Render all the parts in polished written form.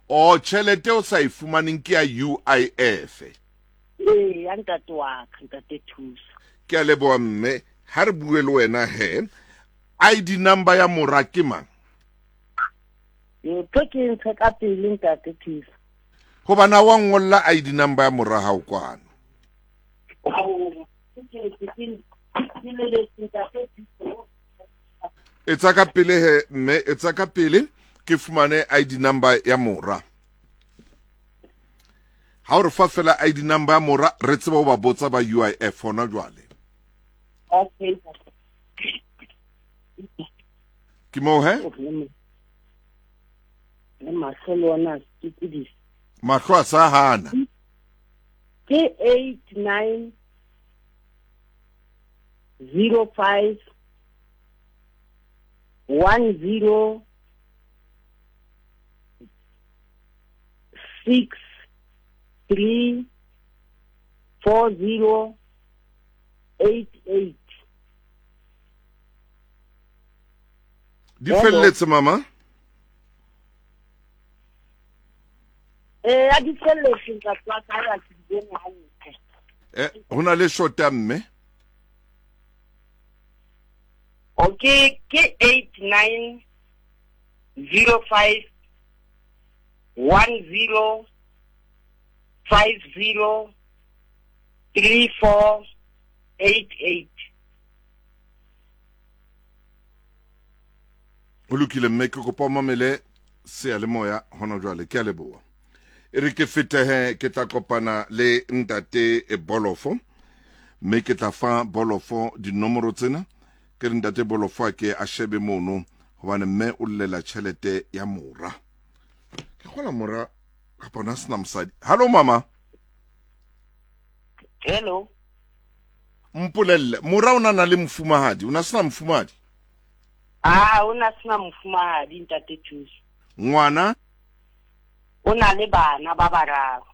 O tjhelete o sa e fumaneng ke ya UIF. Ee, ya ntate wa ka, ntate Thuso. Ke a leboha mme, ha re bue le wena he. ID number ya mora ke mang? Ntho ke ntshe ka pele ntate Thuso. Hobane ha wa ngolla ID number ya mora hao kwano. Etsa ka pele he mme, etsa ka pele ke fumane ID number ya mora. Ha o re fa fela ID number ya mora re tseba ho ba botsa ba UIF hona jwale. Okay. Ke moo he? Le mahlo le ona a sokodisa. Mahlo a sa hana. Ke 89 05 10 6 3 4 0 8 8. Di felletse mama? Eh, a di felletse ntate wa ka ya ke di bone hantle. Eh, ho na le shota mme? Okay, ke 89 05 10 50 34 88. Ho lokile mme, ke kopa o mamele seyalemoya hona jwale. Ke a leboha. E re ke fetehe ke tla kopana le ntate Bolofo mme ke tla fa Bolofo dinomoro tsena. Ke re ntate Bolofo a ke a shebe mono hobane mme o llela tjhelete ya mora. Ke kgola mora kapa ona sena mosadi. Hallo mama. Hello. Mpolelle, mora o na na le mofumahadi, o na sena mofumahadi? Ah, o na sena mofumahadi ntate Thuso. Ngwana? O na le bana ba bararo.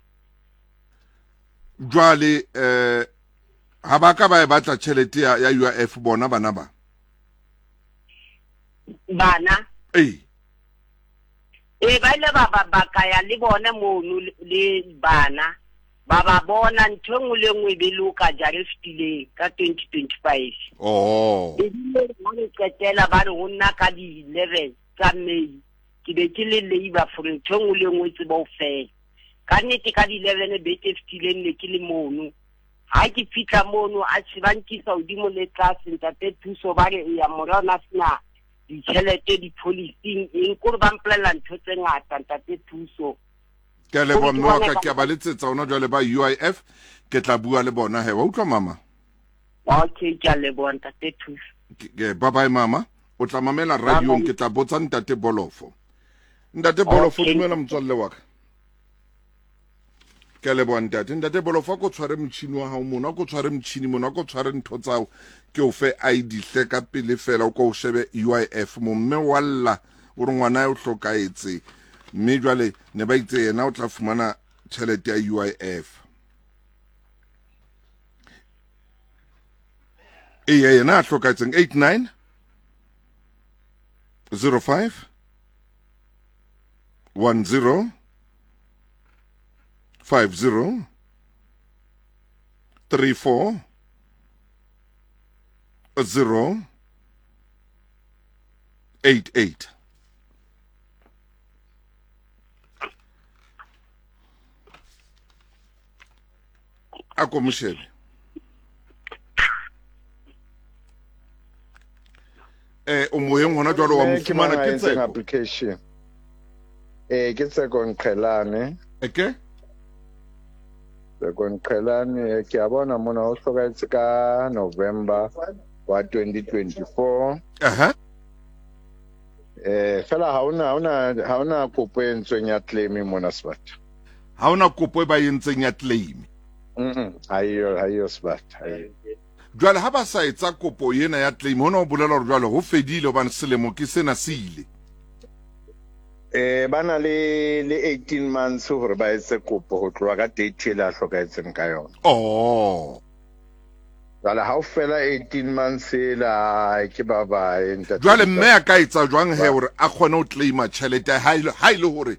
Jwale eh ha ba ka ba e batla tjhelete ya, ya UIF bona bana ba? Bana? Ee. Ee, ba ile ba ba ba ka ya le bone mono le bana ba ba bona ntho e nngwe le nngwe e be loka jara e fetileng ka 2025. Oh. Ebile ha re qetela ba re ho nna ka di-11 tsa May ke be ke le labor for ntho e nngwe le nngwe e tseba ho fela. Ka nnete ka di-11 beke e fetileng ne ke le mono. Ha ke fihla mono a ba nkisa hodimo le tlase ntate Thuso ba re eya mora o na sena ditjhelete di-policing eng kore ba mpolelela ntho tse ngata ntate Thuso. Ke a leboha mme wa ka, ke a ba letsetsa ona jwale ba UIF, ke tla bua le bona he. Wa utlwa mama? Okay, ke a leboha ntate Thuso. Bye bye mama. O tla mamela radiong, ke tla botsa ntate Bolofo. Ntate Bolofo, dumela motswalle wa ka. Ke a leboha ntate. Ntate Bolofo, a ko tshware motjhini wa hao mono, a ko tshware motjhini mono, a ko tshware ntho tsa hao, ke o fe ID hle ka pele fela, o ko o shebe UIF mo. Mme wa lla, o re ngwana o hlokahetse, mme jwale ne ba itse yena o tla fumana tjhelete ya UIF. Eya, yena a hlokahetseng 89 05 10 50 34 0 88. A ko mo shebe. Eh, o moyeng hona jwalo wa mo fumana ke Tseko. Application. Eh, ke Tseko Nqhelane. Eke? Tseko Nqhelane, ke a bona mona o hlokahetse ka November wa 2024. Aha. Eh, fela ha ona ha ona ha ona kopo e entsweng ya claim mona sebata. Ha ona kopo e ba entseng ya claim. Mhm. Ha iyo ha iyo sebata. Ha iyo. Jwale ha ba sa etsa kopo ena ya claim, hona ho bolela hore jwale ho fedile hobane selemo ke sena se ile. Eh, ba na le le 18 months hore ba etse kopo ho tloha ka date ele a hlokahetseng ka yona. Oh. Jwale ha o fela 18 months ela ke ba bae ntate. Jwale mme a ka etsa jwang he hore a kgone ho claima tjhelete ha ile ha ile hore